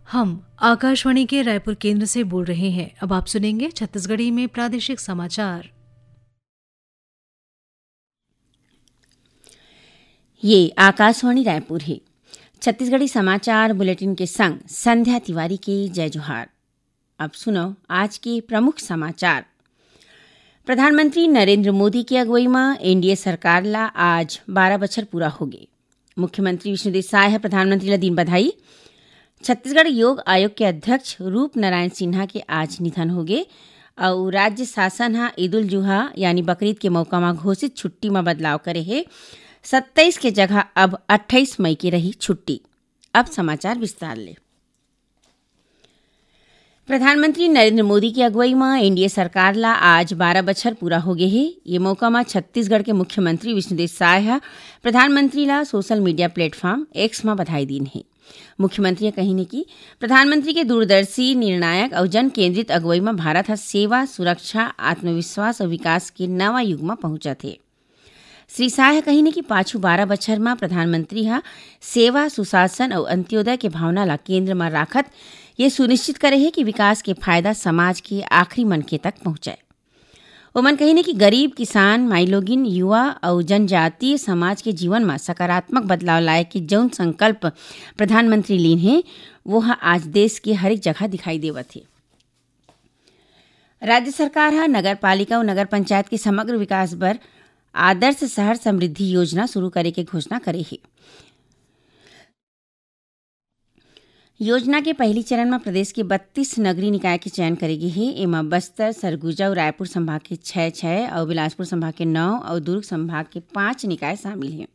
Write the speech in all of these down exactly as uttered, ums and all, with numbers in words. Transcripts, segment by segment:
हम आकाशवाणी के रायपुर केंद्र से बोल रहे हैं। अब आप सुनेंगे छत्तीसगढ़ी में प्रादेशिक समाचार। ये आकाशवाणी रायपुर है। छत्तीसगढ़ी समाचार बुलेटिन के संग संध्या तिवारी के जय जोहार। अब सुनो आज के प्रमुख समाचार। प्रधानमंत्री नरेंद्र मोदी के अगुवई म एनडीए सरकार ला आज बारह बछर पूरा होगे। मुख्यमंत्री विष्णुदेव साय ह प्रधानमंत्री ला दीन बधाई। छत्तीसगढ़ योग आयोग के अध्यक्ष रूप नारायण सिन्हा के आज निधन होगे अउ राज्य शासन ह ईद उल जुहा यानी बकरीद के मौका म घोषित छुट्टी म बदलाव करे हे। सत्ताईस के जगह अब अट्ठाईस मई के रही छुट्टी। अब समाचार विस्तार ले। प्रधानमंत्री नरेंद्र मोदी की अगुवई म एनडीए सरकार ला आज बारह बछर पूरा होगे हे। ये मौका म छत्तीसगढ़ के मुख्यमंत्री विष्णुदेव साय ह प्रधानमंत्री ला सोशल मीडिया प्लेटफॉर्म एक्स म बधाई दीन हे। मुख्यमंत्री ह कहिन हे कि प्रधानमंत्री के दूरदर्शी, निर्णायक अउ जन केंद्रित अगुवई म भारत ह सेवा, सुरक्षा, आत्मविश्वास अउ विकास के नवा युग म पहुंचत हे। श्री साय ह कहिन हे कि पाछू बारह बछर म प्रधानमंत्री ह सेवा, सुशासन अउ अंत्योदय के भावना ला केंद्र म राखत ये सुनिश्चित करे हे कि विकास के फायदा समाज के आखिरी मनखे तक पहुंचय। ओमन कहिन हे कि गरीब, किसान, माईलोगिन, युवा अउ जनजातीय समाज के जीवन म सकारात्मक बदलाव लाए के जउन संकल्प प्रधानमंत्री लीन हे, वो ह आज देश के हरेक जगह दिखाई देवत हे। राज्य सरकार ह नगर पालिका अउ नगर पंचायत के समग्र विकास बर आदर्श शहर समृद्धि योजना शुरू करे के घोषणा करे हे। योजना के पहली चरण म प्रदेश के बत्तीस नगरीय निकाय के चयन करे गे हे। एमा बस्तर, सरगुजा अउ रायपुर संभाग के छह छह अउ बिलासपुर संभाग के नौ अउ दुर्ग संभाग के पांच निकाय शामिल हे।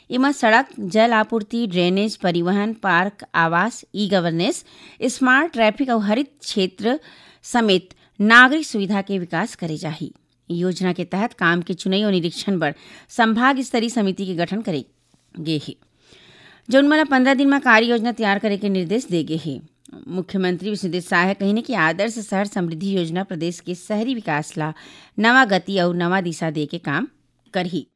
एमा सड़क, जल आपूर्ति, ड्रेनेज, परिवहन, पार्क, आवास, ई गवर्नेंस, स्मार्ट ट्रैफिक अउ हरित क्षेत्र समेत नागरिक सुविधा के विकास करे जाही। योजना के तहत काम के चुनई अउ निरीक्षण बर संभाग स्तरीय समिति के गठन करे गे हे, जउन मन ल पंद्रह दिन म कार्य योजना तैयार करे के निर्देश दे गे हे। मुख्यमंत्री विष्णुदेव साय ह कहिन हे कि आदर्श शहर समृद्धि योजना प्रदेश के शहरी विकास ला नवा गति अउ नवा दिशा दे के काम करही।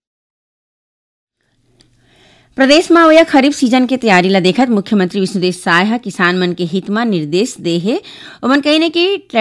प्रदेश म अवइया खरीफ सीजन के तैयारी ला देखत मुख्यमंत्री विष्णुदेव साय ह किसान मन के हित म निर्देश दे हे। ओमन कहिन हे कि ट्रैक्टर